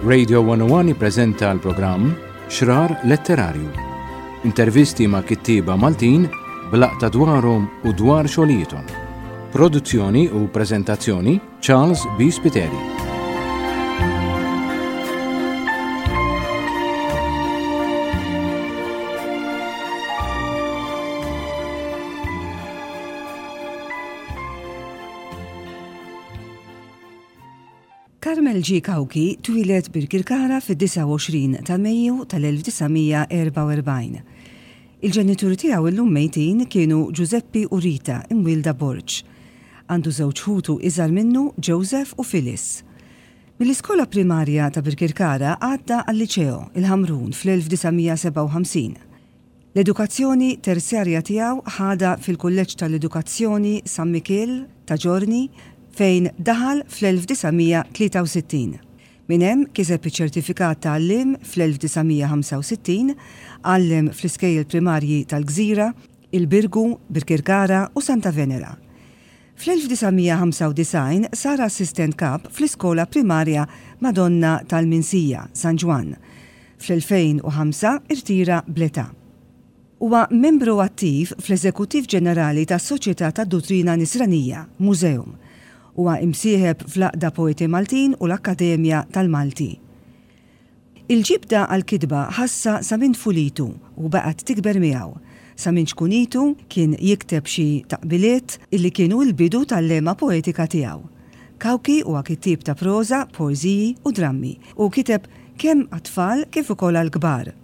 Radio 101 jippreżenta l-programm Xrar Letterarju. Intervisti ma' kittieba Maltin b'laqta dwarhom u dwar xogħlijiethom. Produzzjoni u preżentazzjoni Charles B. Spiteri. Carmel G. Cauchi twieled Birkirkara fid-29 ta' Mejju tal-1944. Il-ġenituri tiegħu illum mejtin kienu Ġużeppi u Rita imwielda Borg. Għandu żewġ ħutu iżgħar minnu, Joseph u Phyllis. Mill-iskola primarja ta' Birkirkara għadda għal-Liċeo, il-Ħamrun, fl-1957. L-edukazzjoni terzjarja tiegħu ħadha fil-Kulleġġ tal-Edukazzjoni San Mikiel ta' Ġorni fejn daħal fl-1963. Minn hemm kiseb iċ-ċertifikat ta' għalliem fl-1965, għallem fl-iskejjel primarji tal-Gżira, il-Birgu, Birkirkara u Santa Venera. Fl-1995 sar assistent kap fl-iskola primarja Madonna tal-Minsija, San Ġwann. Fl-2005 irtira bl-età. Huwa membru attiv fl-Eżekuttiv Ġenerali tas-Soċjetà tad-Duttrina Nisranija, Museum. Huwa imsieħeb fl-Għaqda Poeti Maltin u l-Akkademja tal-Malti. Il-ġibda għall-kitba ħassha sa minn tfulitu u baqgħet tikber miegħu. Sa minn ċkunitu kien jikteb xi taqbiliet illi kienu l-bidu tal-lehma poetika tiegħu. Cauchi huwa kittieb ta' proża, poeżiji u drammi u kiteb kemm għat-tfal kif ukoll għall-kbar.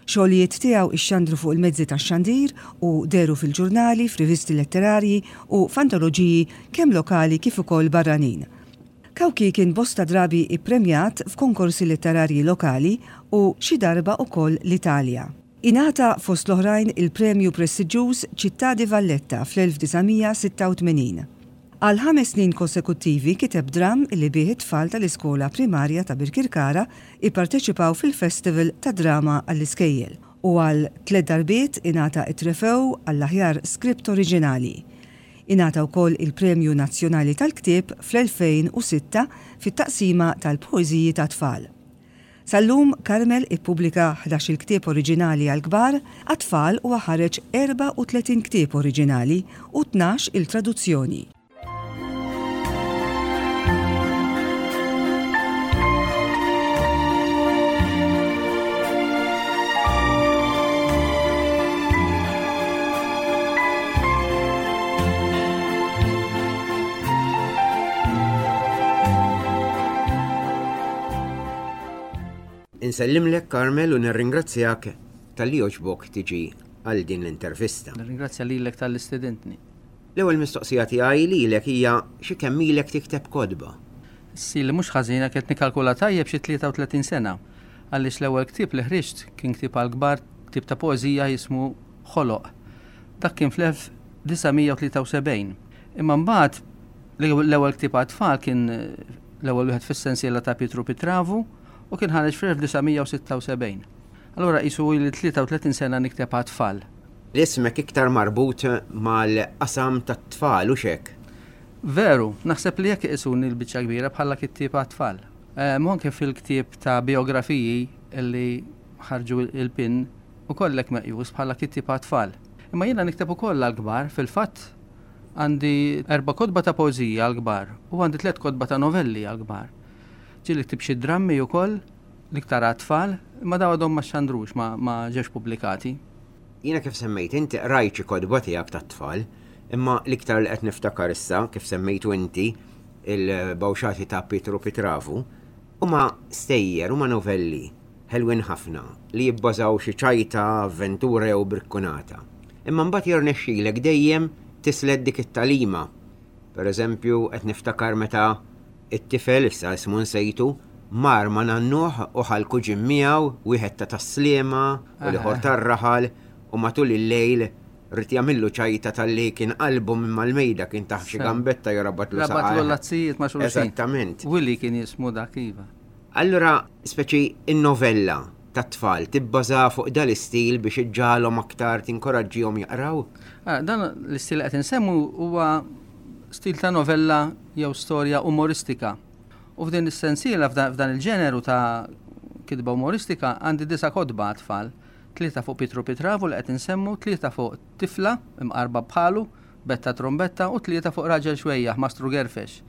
Xogħlijiet tiegħu ixxandru fuq il-mezzi tax-xandir u dehru fil-ġurnali, f'rivisti letterarji u f'antoloġiji kemm lokali kif ukoll barranin. Cauchi kien bosta drabi ippremjat f'konkorsi letterarji lokali u xi darba ukoll l-Italja. Ingħata fost l-oħrajn il-premju prestiġġuż Città di Valletta fl-1986. Għal ħames snin konsekuttivi kiteb dramm li bih it-tfal tal-iskola primarja ta' Birkirkara ipparteċipaw fil-Festival tad-Drama għall-Iskejjel u għal tliet darbiet ingħata t-trefew għall-aħjar skript oriġinali. Ingħata wkoll il-Premju Nazzjonali tal-Ktieb fl-2006 fit-taqsima tal-poeżiji tat-tfal. Sal-lum Carmel ippubblika ħdax-il ktieb oriġinali għall-kbar, għat-tfal huwa ħareġ 34 ktieb oriġinali u tnax-il traduzzjoni. Insellimlek Carmel u nirringrazzjak talli għoġbok tiġi għal din l-intervista. Nirringrazzja lilek talli stedintni. L-ewwel mistoqsija tiegħi lilek hija xi kemm ilek tikteb kotba? Sili mhux ħażin jekk qed nikkalkula tajjeb xi 33 sena. Għaliex l-ewwel ktieb li ħriġt kien ktieb għall-kbar, ktieb ta' poeżija jismu Ħoloq. Dak kien fl-1973. Imma mbagħad l-ewwel ktieb għat-tfal kien l-ewwel wieħed fis-sensiela ta' Pietru Pitravu u kien ħareġ fl-1976. Allura qisu ili 33 sena nikteb għat-tfal. Ismek iktar marbut mal-qasam tat-tfal, hux hekk? Veru, naħseb li hekk iqisuni l-biċċa kbira bħala kittieb għat-tfal. U anke fil-ktieb ta' bijografiji li ħarġu il-PIN ukoll hekk meqjus bħala kittieb għat-tfal. Imma jiena nikteb ukoll għall-kbar, fil-fatt għandi erba' kotba ta' poeżija għall-kbar u għandi tlett kotba ta' novelli għall-kbar. Ġieli ktibt xi drammi ukoll, l-iktar għat-tfal, imma dawn għadhom ma xxandrux, ma ġewx pubblikati. Jiena kif semmejt inti qrajt xi kotba tiegħek tat-tfal, imma l-iktar li qed niftakar issa, kif semmejtu inti, il-Bawxati ta' Pietru Pitravu, huma stejjer, huma novelli ħelwin ħafna li jibbażaw xi ċajta, avventura jew brikkunata. Imma mbagħad jirnexxilek dejjem tislet dik it-tagħlima. Per eżempju, qed niftakar meta it-tifel, issa ismu nsejtu, mar ma' nannuh u ħa l-kuġin miegħu, wieħed ta' Tas-Sliema u l-ieħor tar-raħal, u matul il-lejl ried jagħmillu ċajta talli kien qalbu minn mal-mejda kien tah xi gambetta jew rabatlu saqajh. Rabatlu l-lazzijiet ma' xulxin. Eżattament. Willy kien jismu dak, iva. Allura, speċi in-novella tat-tfal tibbaża fuq dal-istil biex iġġagħalhom aktar tinkoraġġihom jaqraw? Dan l-istil li qed insemmu huwa stil ta' novella jew storja umoristika. U f'din is-sensiela f'dan il-ġeneru ta' kitba umoristika għandi disa' kotba għat-tfal. Tlieta fuq Pietru Pitravu li qed insemmu, tlieta fuq tifla imqarba bħalu, Betta Trumbetta, u tlieta fuq raġel xwejjaħ, Mastru Gerfex.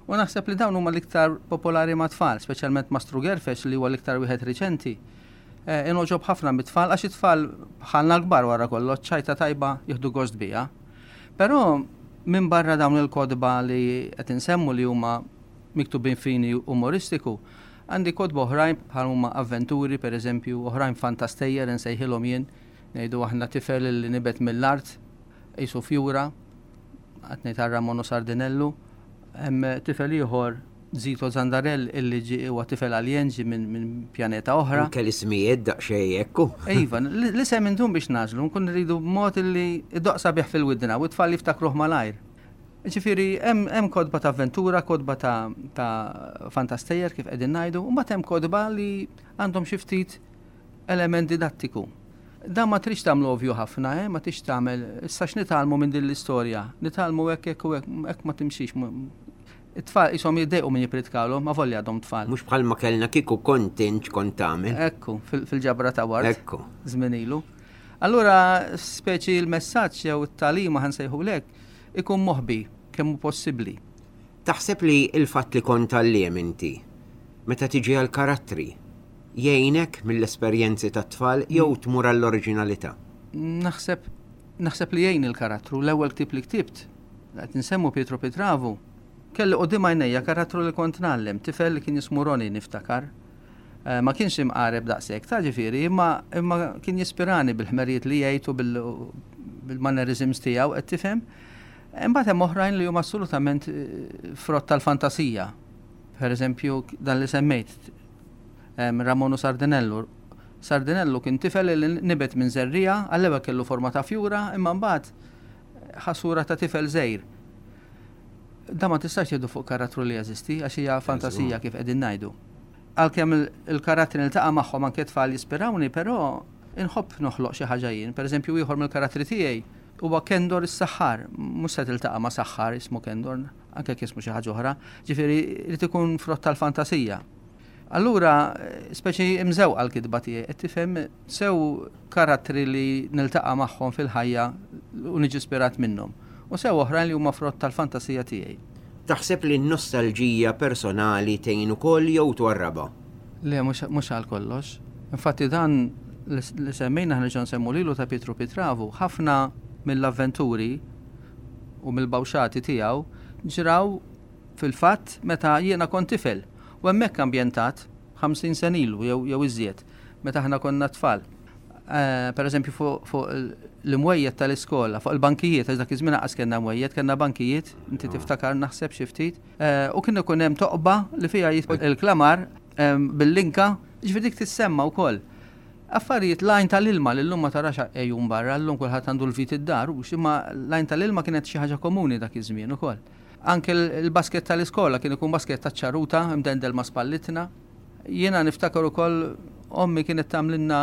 U naħseb li dawn huma l-iktar popolari mat-tfal, speċjalment Mastru Gerfex li huwa l-iktar wieħed riċenti. Ingħoġob ħafna mit-tfal għax it-tfal bħalna l-kbar wara kollox ċajta tajba jieħdu gost biha. Però minbarra dawn il-kotba li qed insemmu li huma miktubin fini umoristiku, għandi kotba oħrajn bħal huma avventuri pereżempju, oħrajn fantastejjer insejħilhom jien, ngħidu aħna tifel li nibet mill-art qisu fjura, qed ngħid għal Ramon u Sardinellu. Hemm tifel ieħor Zito Zandarell illi ġie huwa tifel aljen ġie minn min pjaneta oħra. Anke l-ismijiet daqsxejn hekk. Iva, l-isem indum biex nażlu, nkun rridu b'mod illi iddoqq sabiħ fil-widna u t-tfal jiftakruh malajr. Ġifieri hemm kotba ta' avventura, kotba ta', ta fantastejjer kif qegħdin ngħidu, u mbagħad hemm kotba li għandhom xi ftit element didattiku. Dan ma tridx tagħmlu ovvju ħafna, eh? ma tridx tagħmel, issa x'nitgħallmu minn din l-istorja? Nitgħallmu hekk hekk u hekk, hekk ma timxix. It-tfal qishom jiddejqu min jippritkalhom, avolja għadhom tfal. Mhux bħalma kellna kieku kont int x'kont tagħmel. Ekku, fil-ġabra ta' ward. Ekku. Żmien ilu. Allura speċi l-messaġġ jew it-tagħlima ħa nsejħulek ikun moħbi kemm hu possibbli. Taħseb li l-fatt li kont għalliem inti, meta tiġi għall-karattri, jgħinek mill-esperjenzi tat-tfal jew tmur għall-oriġinalità? Naħseb naħseb li jgħin il-karattru. L-ewwel ktieb li ktibt, qed insemmu Pietro Pitravu, kelli quddiem għajnejja karattru li kont ngħallem, tifel li kien jismu Ronnie niftakar. Eh, ma kienx imqareb daqshekk, ta' ġifieri, imma imma kien jispirani bil-ħmerijiet li jgħid u bil-mannerisms tiegħu qed tifhem. Imbagħad hemm oħrajn li huma assolutament eh, frott tal-fantasija. Per eżempju, dan li semmejt, Ramonu Sardinellu. Sardinellu kien tifel li nibet minn żerriegħa, għall-ewwel kellu forma ta' fjura, imma mbagħad ħa sura ta' tifel żgħir. Dan ma tistax tieħdu fuq karattru li jeżisti, għax hija fantasija kif qegħdin ngħidu. Għalkemm il-karattri niltaqa' magħhom anke tfal jispirawni, però inħobb noħloq xi ħaġa jien. Pereżempju ieħor mill-karattri tiegħi huwa Kendor is-saħħar. Mhux se tiltaqa' ma' saħħar jismu Kendor, anke jekk jismu xi ħaġa oħra. Ġifieri jrid ikun frott tal-fantasija. Allura, speċi imżewqa l-kitba tiegħi, qed tifhem sew karattri li niltaqa' magħhom fil-ħajja u niġi ispirat minnhom, u sew oħrajn li huma frott tal-fantasija tiegħi. Taħseb li n-nostalġija personali tgħin ukoll jew twarrabha? Le, mhux għal kollox. Infatti dan li semmejna ħa nerġgħu nsemmu lilu ta' Pietru Pitravu, ħafna mill-avventuri u mill-bawxati tiegħu ġraw fil-fatt meta jiena kont tifel u hemmhekk ambjentat 50 sena ilu jew jew iżjed meta aħna konna tfal. Eh, per eżempju fuq fu l-imwejjed tal-iskola, fuq il-bankijiet, għax dak iż-żmien aqas kellna mwejjed, kellna bankijiet, inti ah. tiftakar naħseb xi ftit, eh, u kien ikun hemm toqba li fiha jidħol il-klamar eh, bil-linka, ġifieri dik tissemma wkoll. Affarijiet l-għajn tal-ilma li llum ma tarax għejun barra, llum kulħadd għandu l-vit id-dar, hux, imma l-għajn tal-ilma kienet xi ħaġa komuni dak iż-żmien ukoll. Anke l-basket tal-iskola kien ikun basket taċ-ċaruta mdendel ma' spallitna. Jiena niftakar ukoll ommi kienet tagħmlilna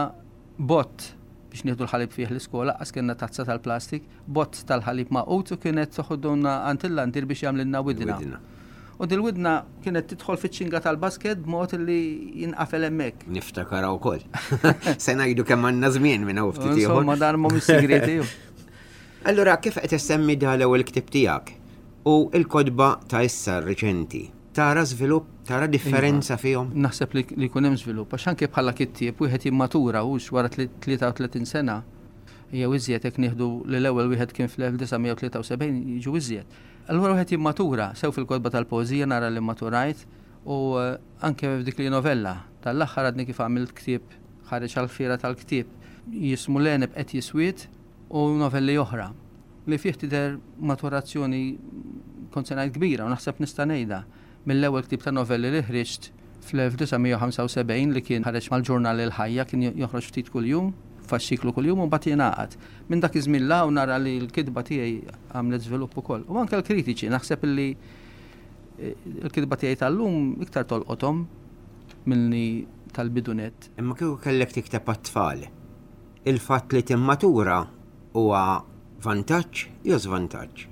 bott biex nieħdu l-ħalib fih l-iskola, qas kellna tazza tal-plastik, bott tal-ħalib magħqud u kienet toħoduna għand il-landier biex jagħmlilna widna. U dil-widna kienet tidħol fiċ-ċinga tal-basket b'mod li jinqafel hemmhekk. Niftakarha wkoll. Se ngħidu kemm għandna żmien minn hawn ftit ieħor. Insomma dan mhumiex sigrieti. Allura kif qed issemmi da l-ewwel ktieb tiegħek u l-kotba ta' issa riċenti, tara żvilupp, tara differenza iva, fihom? Naħseb li jkun hemm żvilupp għax anke bħala kittieb wieħed jimmatura hux wara 33 sena jew iżjed jekk nieħdu li l-ewwel wieħed kien fl-1973 jiġu iżjed. Allura wieħed jimmatura sew fil-kotba tal-poeżija nara li maturajt u eh, anke f'dik li novella. Tal-aħħar għadni kif għamilt ktieb ħareġ għall-fiera tal-ktieb jismu L-għeneb qed jiswied u novelli oħra, li fih tidher maturazzjoni kont se ngħid kbira u naħseb nista' ngħidha, mill-ewwel ktieb ta' novelli li ħriġt fl-1975 li kien ħareġ mal-ġurnal Il-Ħajja, kien joħroġ ftit kuljum, fasċiklu kuljum u mbagħad jingħaqad. Minn dak iż-żmien 'l hawn nara li l-kitba tiegħi għamlet żvilupp ukoll. U anke l-kritiċi, naħseb li l-kitba tiegħi tal-lum iktar tolqothom milli tal-bidu nett. Imma kieku kellek tikteb għat-tfal, Il-fatt li timmatura huwa vantaġġ jew żvantaġġ?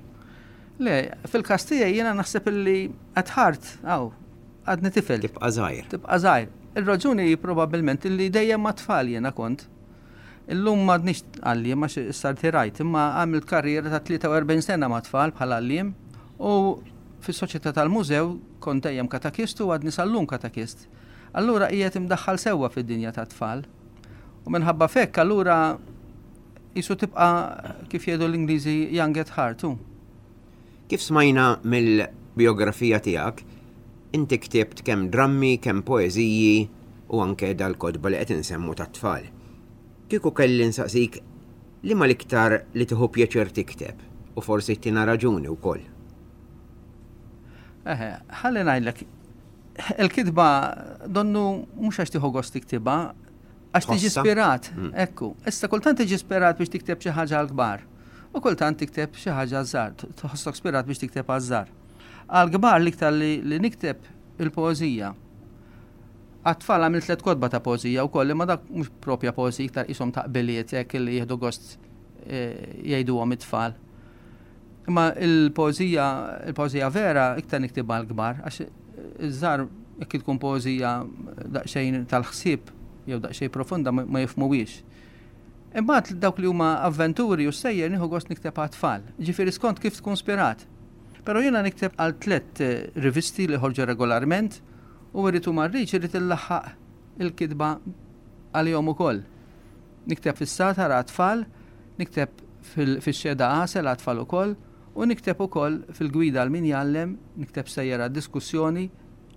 Le, fil-każ tiegħi jiena naħseb illi at heart, aw, għadni tifel. Tibqa' żgħir. Tibqa' żgħir. Ir-raġuni hi probabbilment illi dejjem mat-tfal jiena kont. Illum m'għadnix għalliem għax issa rtirajt, imma għamilt karriera ta' 43 sena mat-tfal bħala għalliem u fis-Soċjetà tal-Mużew kont dejjem katakist u għadni sal-lum katakist. Allura qiegħed imdaħħal sewwa fid-dinja tat-tfal. U minħabba f'hekk allura qisu tibqa' kif jgħidu l-Ingliżi young at heart hu. Kif smajna mill-bijografija tiegħek, inti ktibt kemm drammi, kemm poeżiji u anke dal-kotba li qed insemmu tat-tfal. Kieku kelli nsaqsik liema l-iktar li tieħu pjaċir tikteb u forsi ttina raġuni wkoll? Eħe, ħalli ngħidlek, il-kitba donnu mhux għax tieħu gost tiktibha, għax tiġi spirat, mm. ekku. Issa kultant tiġi spirat biex tikteb xi ħaġa għall-kbar. U kultant tikteb xi ħaġa għaż-żgħar, tħossok spirat biex tikteb għaż-żgħar. Għall-kbar l-iktar li nikteb il-poeżija. Għat-tfal għamilt tlet kotba ta' poeżija wkoll, imma dak mhux propja poeżija, iktar qishom taqbiliet hekk li jieħdu gost eh, jgħiduhom it-tfal. Imma il-poeżija, il-poeżija vera iktar niktibha għall-kbar, għax iż-żgħar jekk tkun poeżija daqsxejn tal-ħsieb jew daqsxejn profonda ma jifhmuhiex. Imbagħad dawk li huma avventuri u stejjer nieħu gost nikteb għat-tfal, ġifieri skont kif tkun spirat. Però jiena nikteb għal tlett rivisti li ħorġu regolarment u irrid u ma rridx irrid illaħħaq il-kitba għalihom ukoll. Nikteb fis-Sagħtar għat-tfal, nikteb fix-Xehda Għasel għat-tfal ukoll u nikteb ukoll fil-Gwida għal min jgħallem, nikteb stejjer għad-diskussjoni.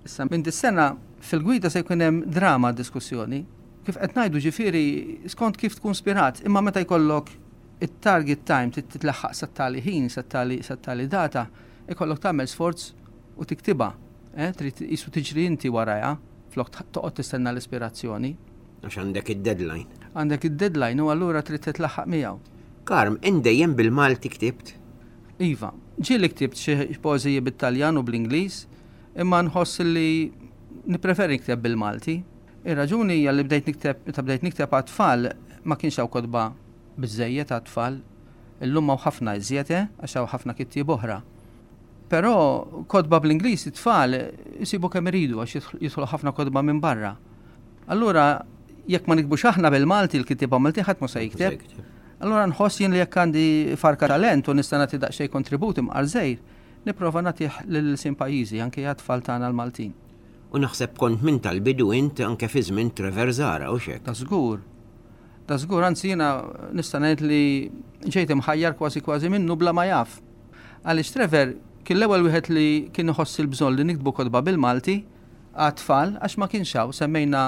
Issa minn dis-sena fil-Gwida se jkun hemm drama għad-diskussjoni. Kif qed ngħidu ġifieri skont kif tkun spirat, imma meta jkollok it-target time trid titlaħħaq sat-tali ħin, sat-tali sat-tali data, ikollok tagħmel sforz u tiktibha. Eh, trid qisu tiġri inti warajha flok toqgħod tistenna l-ispirazzjoni. Għax għandek id-deadline. Għandek id-deadline u allura trid titlaħħaq miegħu. Karm, int dejjem bil-Malti ktibt? Iva. Ġieli ktibt xi poeżiji bit-Taljan u bl-Ingliż, imma nħoss li nippreferi nikteb bil-Malti. Ir-raġuni hija li bdejt nikteb meta bdejt nikteb għat-tfal ma kienx hawn kotba biżżejjed għat-tfal. Illum hawn ħafna iżjed, eh, għax hawn ħafna kittieb oħra. Però kotba bl-Ingliż it-tfal isibu kemm iridu għax jidħlu ħafna kotba minn barra. Allura jekk ma nikbux aħna bil-Malti l-kittieba Malti ħadd ma se jikteb. Allura nħoss jien li jekk għandi farka talent u nista' nagħti daqsxejn kontribut imqar żgħir, nipprova nagħtih lil sin pajjiżi anke għat-tfal tagħna l-Maltin. U naħseb kont minn tal-bidu int anke fi żmien Trevor Zahra, hux hekk? Da żgur. Da żgur, anzi jiena nista' ngħid li ġejt imħajjar kważi kważi minnu bla ma jaf. Għaliex Trevor kien l-ewwel wieħed li kien iħoss il-bżonn li niktbu kotba bil-Malti għat-tfal għax ma kienx hawn. Semmejna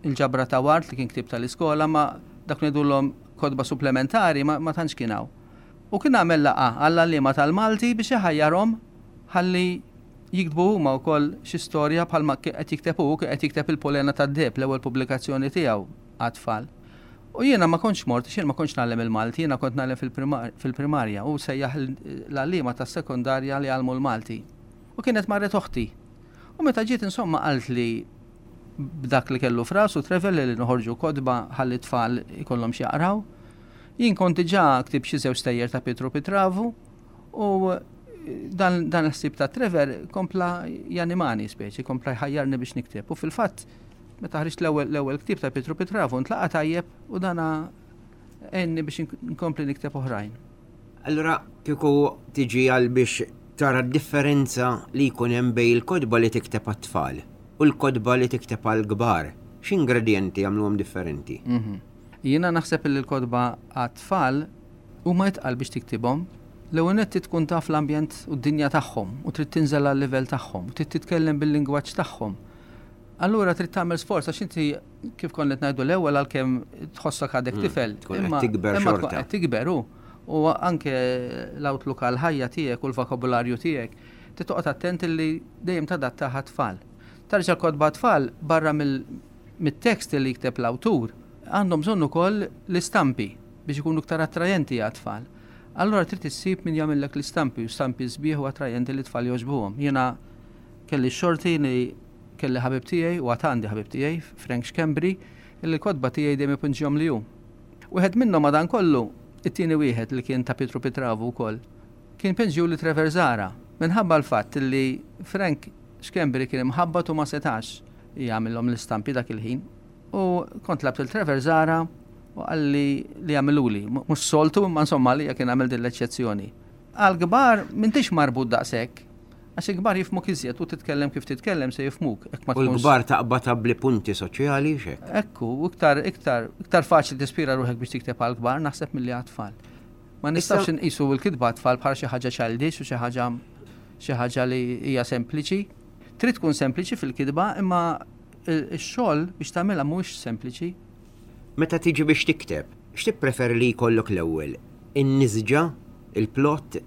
l-ġabra ta' Ward li kien ktieb tal-iskola ma dak ngħidulhom kotba supplementari ma, ma tantx kien hawn. U kien għamel laqgħa għall-għalliema tal-Malti biex iħajjarhom ħalli jiktbu huma wkoll xi storja bħalma qed jikteb hu, kien qed jikteb il-Polena tad-Deheb, l-ewwel pubblikazzjoni tiegħu għat-tfal. U jiena ma kontx mort, għax jien ma kontx ngħallem il-Malti, jiena kont ngħallem fil-primarja u sejjaħ l-għalliema tas-sekondarja li jgħallmu l-Malti. U kienet marret oħti. U meta ġiet insomma qaltli b'dak li kellu f'rasu Trevor li noħorġu kotba ħalli t-tfal ikollhom x'jaqraw. Jien kont diġà ktibt xi żewġ stejjer ta' Pietru Pitravu u dan, dan il-ħsieb ta' Trevor kompla janimani speċi, kompla jħajjarni biex nikteb. U fil-fatt Meta ħriġt l-ewwel l-ewwel ktieb ta' Pietru Pitravu ntlaqa' tajjeb u dana għenni biex nkompli nikteb oħrajn. Allura kieku tiġi għal biex tara d-differenza li jkun hemm bejn il-kotba li tikteb għat-tfal u l-kotba li tikteb għall-kbar, x'ingredjenti jagħmluhom differenti? Mhm. Jiena naħseb li l-kotba għat-tfal huma itqal biex tiktibhom. L-ewwel nett trid tkun taf l-ambjent u d-dinja tagħhom u trid tinżel għal-livell tagħhom u trid titkellem bil-lingwaġġ tagħhom. Allura trid tagħmel sforz għax inti kif konna qed ngħidu l-ewwel għalkemm tħossok għadek mm, tifel. Tkun qed tikber xorta. Qed tikber hu. U anke l-outlook għall-ħajja tiegħek u l-vokabularju tiegħek, trid toqgħod attent li dejjem tadattaha għat-tfal. Tarġa' kotba tfal barra mit-tekst li jikteb l-awtur, għandhom bżonn ukoll l-istampi biex ikunu iktar attrajenti għat-tfal. Allura trid issib min jagħmillek l-istampi u stampi sbieħ u attrajenti li t-tfal jogħġbuhom. Jiena kelli x-xorti li Kelli ħabib tiegħi, u għad għandi ħabib tiegħi, Frank Schembri, illi l-kotba tiegħi dejjem ipinġihomli hu. Wieħed minnhom madankollu, it-tieni wieħed li kien ta' Pietru Pitravu wkoll, kien pinġiuli Trevor Zahra, minħabba l-fatt illi Frank Schembri kien imħabbat u ma setax jagħmilhom l-istampi dak il-ħin. U kont tlabt lil Trevor Zahra u qalli li jagħmiluli. Mhux soltu imma insomma għalija kien għamel din l-eċċezzjoni. Għall-kbar m'intix marbut daqshekk. Għax il-kbar jifhmuk iżjed u titkellem kif titkellem se jifhmuk. Hekk ma U l-kbar taqbad abbli punti soċjali x'hekk. Ekku, u iktar iktar iktar faċli tispira ruħek biex tikteb għall-kbar naħseb milli għat-tfal. Ma nistgħux inqisu l-kitba għat-tfal bħala xi ħaġa childish u xi ħaġa xi ħaġa li hija sempliċi. Trid tkun sempliċi fil-kitba imma x-xogħol biex tagħmilha mhuwiex sempliċi. Meta tiġi biex tikteb, x'tippreferi li jkollok l-ewwel, in-nisġa, il-plot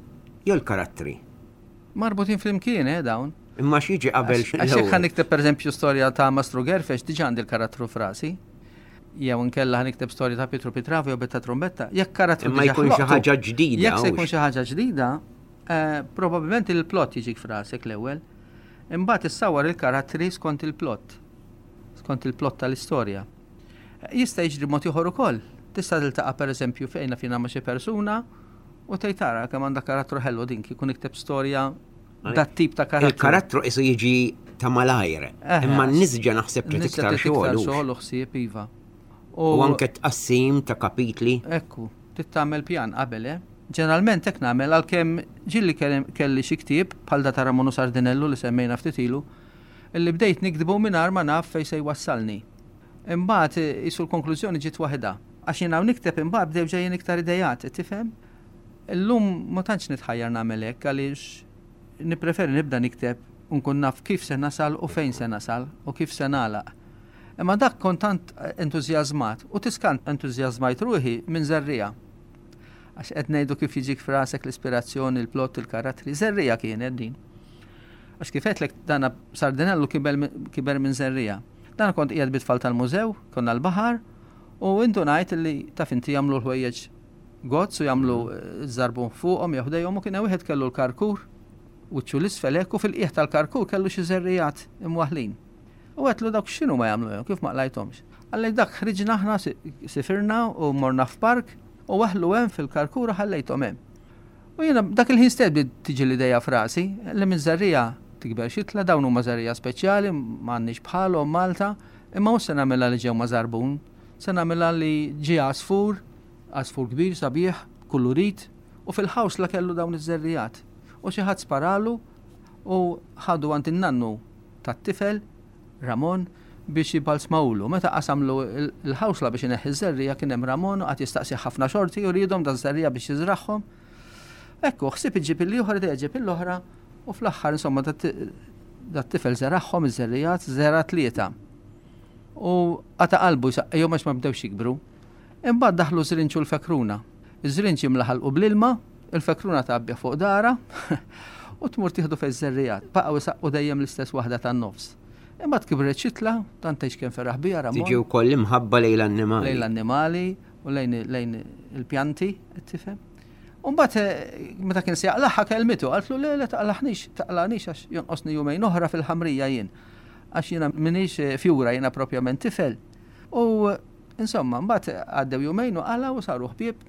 jew l-karattri? Marbutin flimkien, eh, dawn. Imma x'jiġi qabel x'l-ewwel? Għax jekk ħa nikteb pereżempju storja ta' Mastru Gerfex, diġà għandi l-karattru f'rasi. Jew inkella ħa nikteb storja ta' Pietru Pitravi jew Betta Trumbetta, jekk karattru Imma jkun xi ħaġa ġdida. Jekk se jkun xi ħaġa ġdida, eh, probabbilment il-plot jiġik f'rasek l-ewwel. Imbagħad issawwar il-karattri skont il-plot. Skont il-plot tal-istorja. Jista' jiġri mod ieħor ukoll. Tista' tiltaqa' pereżempju fejn naf jiena ma' xi persuna U tgħid ara kemm għandha karattru ħelu din kieku nikteb storja dat tip ta' karattru. Il-karattru qisu jiġi ta' malajr. Imma n-nisġa naħseb trid iktar xogħol. Xogħol u ħsieb iva. U anke tqassim ta' kapitli. Ekku, trid tagħmel pjan qabel, eh? Ġeneralment hekk nagħmel għalkemm ġieli kelli xi ktieb bħal da ta' Ramonu Sardinellu li semmejna ftit ilu, illi bdejt niktbu mingħajr ma naf fejn se jwassalni. Imbagħad qisu l-konklużjoni ġiet waħedha. Għax jien hawn nikteb imbagħad bdew ġejjin iktar ideat, qed tifhem? Illum ma tantx nitħajjar nagħmel hekk għaliex nippreferi nibda nikteb u nkun naf kif se nasal u fejn se nasal u kif se nagħlaq. Imma dak kont tant entużjażmat u tiskant entużjażmajt ruħi minn żerriegħa. Għax qed ngħidu kif jiġik f'rasek l-ispirazzjoni, il-plott, il-karattri. Żerriegħa kienet din. Għax kif għedtlek dana Sardinellu kiber minn żerriegħa. Dan kont qiegħed bit-tfal tal-mużew, konna l-baħar, u indunajt li taf inti jagħmlu l-ħwejjeġ gozz u jagħmlu żarbun fuqhom jew ħdejhom u kien hemm wieħed kellu l-karkur wiċċu l-isfel hekk u fil-qiegħ tal-karkur kellu xi żerriegħat imwaħħlin. U għedtlu dawk x'inhu ma jagħmlu hemm, kif ma qlajthomx. Qalli dak ħriġna aħna sifirna u morna f'park u waħħlu hemm fil-karkur u ħallejthom hemm. U jiena dak il-ħin stess bdiet tiġi l-ideja f'rasi li minn żerriegħa tikber xitla, dawn huma żerriegħa speċjali, m'għandniex bħalhom Malta, imma mhux se nagħmilha li ġew ma' żarbun, se nagħmilha li ġie għasfur, għasfur kbir sabiħ, kulurit, u fil-ħawsla kellu dawn iż-żerriegħat. U xi ħadd sparalu u ħadu għand in-nannu tat-tifel Ramon biex jibbalzmawlu. Meta qasamlu l-ħawsla biex ineħħi ż-żerriegħa kien hemm Ramon u qagħad jistaqsih ħafna xorti u riedhom daż-żerriegħa biex jiżragħhom. Ekku, ħsieb iġġib il-ieħor, idea ġġib l-oħra u fl-aħħar insomma dat-tifel żeragħhom iż-żerriegħat, żera' tlieta. U qata' qalbu jsaqqihom għax ma bdewx jikbru. Imbagħad daħlu ż-żrinġ u l-fekruna. Iż-żrinġ jimla ħalqu bl-ilma, il-fekruna tgħabbih fuq dahra u tmur tieħdu fejn iż-żerriegħat. Baqgħu isaqqu dejjem l-istess waħda tan-nofs. Imbagħad kibret xitla, tant tgħidx kemm feraħ biha Ramon. Tiġi wkoll l-imħabba lejn l-annimali. Lejn l-annimali u lejn lejn il-pjanti, qed tifhem? U mbagħad eh, meta kien se jaqlagħha kelmitu, qaltlu le le taqlaħnix, taqlagħnix għax jonqosni jumejn oħra fil-ħamrija jien. Għax jiena m'iniex eh, fjura, jiena propjament tifel. U Insomma, mbagħad għaddew jumejn u qala u saru ħbieb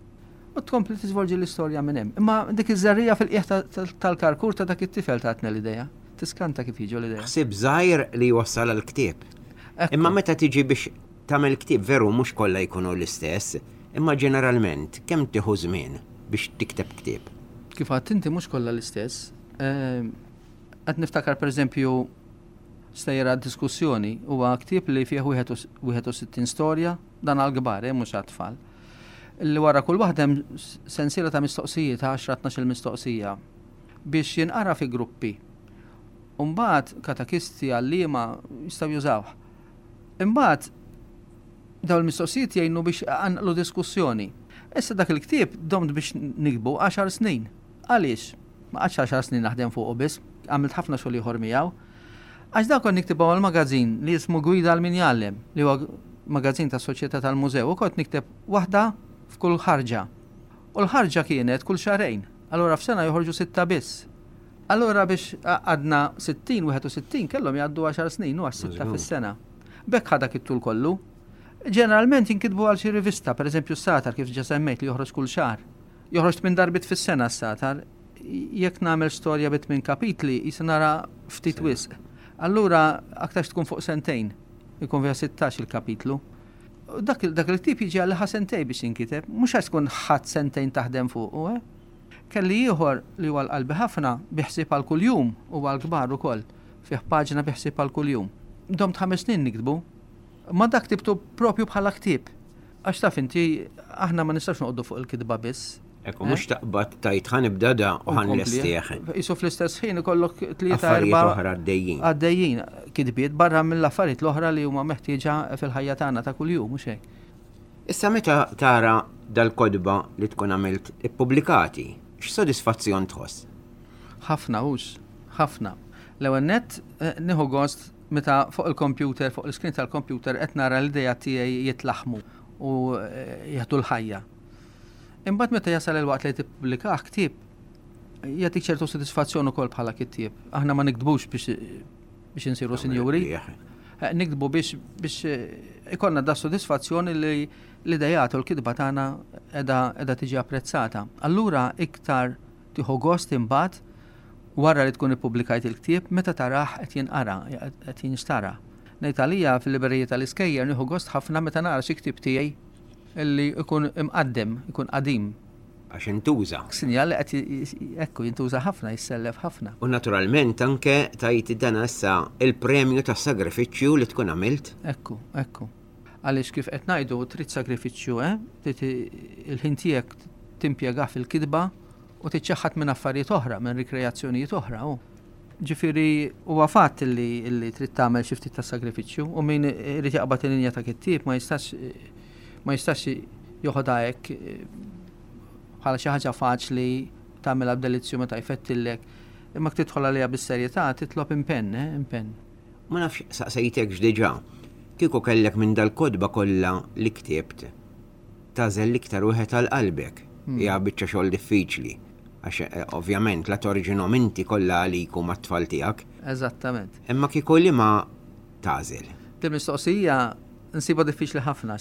u tkompli tiżvolġi l-istorja minn hemm. Imma dik iż-żerriegħa fil-qiegħ tal-karkur ta' dak it-tifel tatna l-idea. Tiskanta kif jiġu l-idea. Ħsieb żgħir li jwassal għal ktieb. Imma meta tiġi biex tagħmel ktieb veru mhux kollha jkunu l-istess, imma ġeneralment kemm tieħu żmien biex tikteb ktieb? Kif għedt inti mhux kollha l-istess. Ehm, qed niftakar pereżempju Stejjer għad-Diskussjoni huwa ktieb li fih 61 storja, dan għall-kbar, eh, mhux għat-tfal. Li wara kull waħda hemm sensiela ta' mistoqsijiet, 10 12 mistoqsija, biex jinqara fi gruppi. U mbagħad katekisti, għalliema jistgħu jużawh. Imbagħad dawn il-mistoqsijiet jgħinu biex iqanqlu diskussjoni. Issa dak il-ktieb domt biex niktbu għaxar snin. Għaliex? Ma qgħadtx għaxar snin naħdem fuqu biss, għamilt ħafna xogħol ieħor miegħu. Għax dak kont niktibhom għal magażin li jismu Gwida għal min jgħallem, li huwa magażin tas-Soċjetà tal-Mużew u kont nikteb waħda f'kull ħarġa. U l-ħarġa kienet kull xahrejn, allura f'sena joħorġu sitta biss. Allura biex għaqqadna 60, 61 kellhom jgħaddu għaxar snin u għax sitta fis-sena. B'hekk ħa dak it-tul kollu. Ġeneralment jinkitbu għal xi rivista, pereżempju s-Sagħtar kif ġa semmejt li joħroġ kull xahar. Joħroġ tmien darbiet fis-sena s-Sagħtar. Jekk nagħmel storja bi tmien kapitli, qisha nara ftit wisq. Allura aktarx tkun fuq sentejn, ikun fiha 16 il-kapitlu. Dak, dak il-ktieb jiġi għal ħa sentejn biex jinkiteb, mhux għax tkun ħadd sentejn taħdem fuqu, eh? Kelli ieħor li huwa l-qalbi ħafna, bi ħsieb għal kuljum u għal kbar ukoll, fih paġna bi ħsieb għal kuljum. Domt ħames snin niktbu. Ma dak ktibtu propju bħala ktieb. Għax taf inti, aħna ma nistgħux noqogħdu fuq il-kitba biss. Ekku, mhux taqbad tajt ħa nibda da u ħa nlestih. Isu fl-istess ħin ikollok tlieta erba' oħra għaddejjin. Għaddejjin, kitbiet barra mill-affarijiet l-oħra li huma meħtieġa fil-ħajja tagħna ta' kuljum, mhux hekk. Issa meta tara dal-kotba li tkun għamilt ippubblikati, x'sodisfazzjon tħoss? Ħafna hux, ħafna. L-ewwel nett eh, nieħu gost meta fuq il-computer, fuq l-iskrin tal-computer qed nara l-idea tiegħi jitlaħmu u eh, jieħdu l-ħajja. Imbagħad meta jasal il-waqt li tippubblikah ktieb, jagħtik ċertu sodisfazzjon ukoll bħala kittieb. Aħna ma niktbux biex biex insiru sinjuri. Eh, niktbu biex biex eh, ikollna da sodisfazzjoni li l-idejat u l-kitba tagħna qiegħda tiġi apprezzata. Allura iktar tieħu gost imbagħad wara li tkun ippubblikajt il-ktieb meta tarah qed jinqara, qed jinxtara. Ngħid għalija fil-librerija tal-iskejjer nieħu gost ħafna meta nara xi ktieb tiegħi Illi jkun imqaddem, ikun qadim. Għax intuża. Sinjal li qed ekku jintuża ħafna, jissellef ħafna. U naturalment anke tajt dan issa il-premju tas-sagrifiċċju li tkun għamilt. Ekku, ekku. Għaliex kif qed ngħidu trid sagrifiċċju, eh? Trid il-ħin tiegħek timpjegah fil-kitba u tiċċaħħad minn affarijiet oħra, minn rikreazzjonijiet oħra. U. Ġifieri huwa fatt li, li trid tagħmel xi ftit ta' sagrifiċċju u min irid jaqbad il-linja ta' kittieb ma jistax ma jistax joħodha hekk bħala xi ħaġa faċli tagħmilha b'delizzju meta jfettillek. Imma jekk tidħol għaliha bis-serjetà titlob impenn, eh, impenn. Ma nafx saqsejtekx diġà, kieku kellek minn dal-kotba kollha li ktibt, tagħżel l-iktar wieħed għal qalbek. Hmm. Hija biċċa xogħol diffiċli. Għax eh, ovvjament la torġinhom inti kollha għalik u mat-tfal tiegħek. Eżattament. Imma kieku li ma tagħżel. Din mistoqsija nsibha diffiċli ħafna.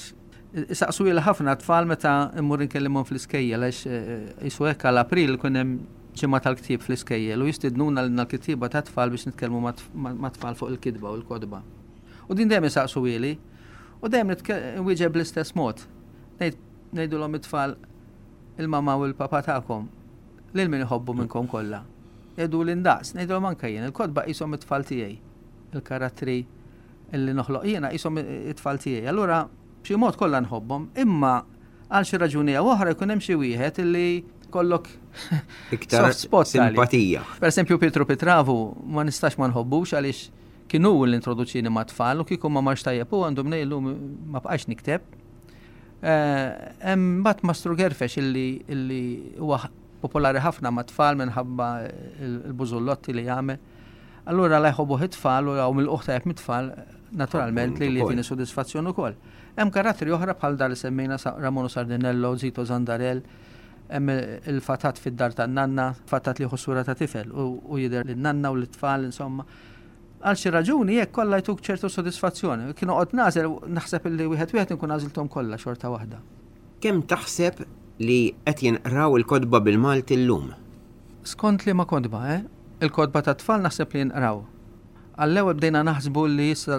Saqsu li ħafna tfal meta immur inkellimhom fl-iskejjel għax eh, jisu hekk għal April kien hemm ġimgħa tal-ktieb fl-iskejjel u jistidnuna lilna l-kittieba ta' tfal biex nitkellmu ma' tfal fuq il-kitba u l-kotba. U din dejjem isaqsu ili U dejjem nwieġeb bl-istess mod. Ngħidulhom it-tfal il-mama u l-papa tagħkom lil min iħobbu minnkom kollha. Jgħiduli ndaqs, ngħidulhom anke jien, il-kotba qishom it-tfal tiegħi. Il-karattri illi noħloq jiena qishom it-tfal tiegħi. Allura b'xi mod kollha nħobbhom, imma għal xi raġuni jew oħra jkun hemm xi wieħed illi kollok iktar spot simpatija. Per esempio Pietro Pitravu ma nistax ma nħobbux għaliex Kien hu li introduċieni mat-tfal u kieku ma marx tajjeb hu għandu mnejn illum ma bqajtx nikteb. Hemm mbagħad Mastru Gerfex illi illi huwa popolari ħafna mat-tfal minħabba l-bużullotti li jagħmel. Allura la jħobbuh it-tfal u hawn milqugħ tajjeb mit-tfal, naturalment li jtini sodisfazzjon ukoll. Hemm karattri oħra bħal dar li semmejna Ramon u Sardinello, Zito Zandarell, hemm il-fatat fid-dar tan-nanna, fatat li jieħu sura ta' tifel u jidher lin-nanna u lit-tfal insomma. Għal xi raġuni hekk kollha jtuk ċertu sodisfazzjon. Kien noqgħod nagħżel naħseb illi wieħed wieħed inkun għażilthom kollha xorta waħda. Kemm taħseb li qed jinqraw il-kotba bil-Malti llum? Skont liema kotba, eh? Il-kotba tat-tfal naħseb li jinqraw. Għall-ewwel bdejna naħsbu li issa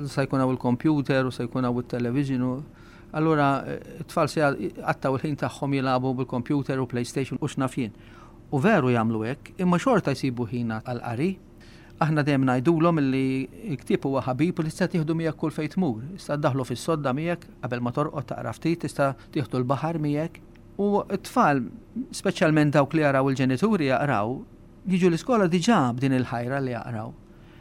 se jkun hawn il-kompjuter u se jkun hawn it-television u allura t-tfal se jqattgħu l-ħin tagħhom jilagħbu bil-kompjuter u PlayStation u x'naf jien. U veru jagħmlu hekk, imma xorta jsibu ħin għall-qari. Aħna dejjem ngħidulhom li l-ktieb huwa ħabib u li tista' tieħdu miegħek kull fejn tmur. Tista' ddaħħlu fis-sodda miegħek qabel ma torqod taqra ftit, tista' tieħdu l-baħar miegħek. U t-tfal, speċjalment dawk li jaraw il-ġenituri jaqraw, jiġu l-iskola diġà b'din il-ħajra li jaqraw.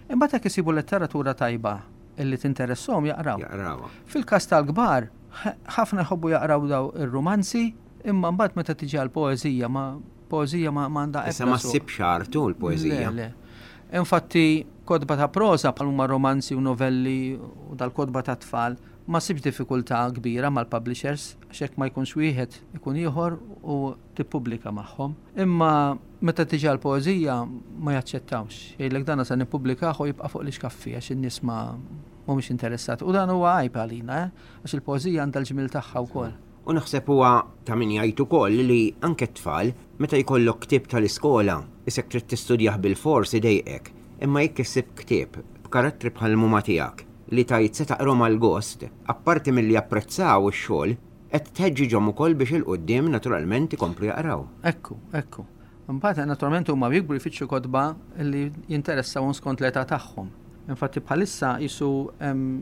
Imbagħad jekk isibu letteratura tajba illi tinteressahom jaqraw. Jaqrawha. Fil-każ tal-kbar, ħafna jħobbu jaqraw daw ir-rumanzi, imma mbagħad meta tiġi għall-poeżija ma Poeżija ma għandha ebda. Issa ma ssibx artu l-poeżija. Le, le. Infatti, kotba ta' proża bħal huma romanzi u novelli u dal-kotba ta' tfal ma ssibx diffikultà kbira mal-publishers għax jekk ma jkunx wieħed ikun ieħor u tippubblika magħhom. Imma meta tiġi għall-poeżija ma jaċċettawx. Jgħidlek dana se nippubblikah u jibqa' fuq l-ixkaffi għax in-nies ma mhumiex interessati. U dan huwa għajb għalina, eh? Għax il-poeżija għandha l-ġmiel tagħha wkoll. U naħseb huwa ta' min jgħid ukoll li anke t-tfal, meta jkollok ktieb tal-iskola, isek trid tistudjah bilfors idejqek. Imma jekk issib ktieb b'karattri bħal m'huma tiegħek li tgħid se taqrahom għall-gost, apparti milli japprezzaw ix-xogħol, qed tħeġġiġhom ukoll biex 'il quddiem naturalment ikomplu jaqraw. Ekku, ekku. Imbagħad naturalment huma jikbru jfittxu kotba li jinteressawhom skont l-età tagħhom. Infatti bħalissa qisu hemm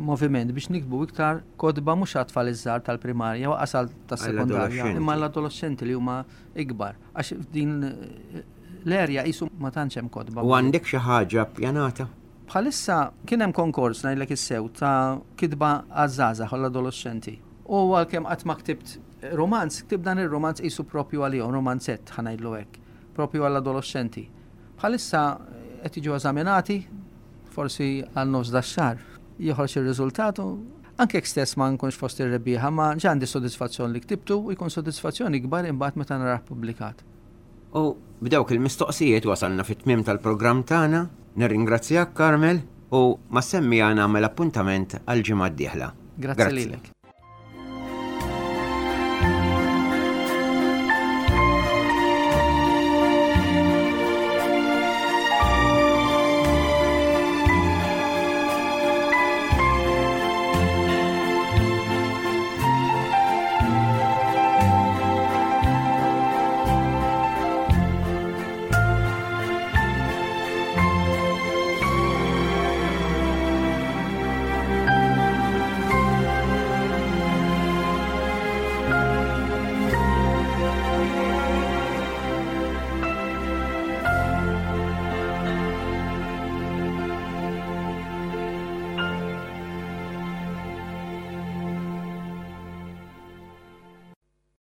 moviment biex niktbu iktar kotba mhux għat-tfal iż-żgħar tal-primarja u anqas għal tas-sekondarja, imma għall-adoloxxenti li huma ikbar. Għax f'din l-erja qisu ma tantx hemm kotba. U għandek xi ħaġa ppjanata? Bħalissa kien hemm konkors ngħidlek is-sew ta' kitba għaż-żgħażagħ u l-adoloxxenti. U għalkemm qatt ma ktibt rumanz, ktibt dan ir-rumanz qisu propju għalihom, rumanzett ħa ngħidlu hekk, propju għall-adoloxxenti. Bħalissa qed jiġu eżaminati, forsi għal nofs dax-xahar joħroġ ir-riżultat u anke jekk stess ma nkunx fost ir-rebbieħa, ma ġa għandi sodisfazzjon li ktibtu u jkun sodisfazzjon ikbar imbagħad meta narah pubblikat. U b'dawk il-mistoqsijiet wasalna fit-tmiem tal-programm tagħna. Nirringrazzjak Carmel u mas-semmiegħa nagħmel appuntament għall-ġimgħa d-dieħla. Grazzi lilek.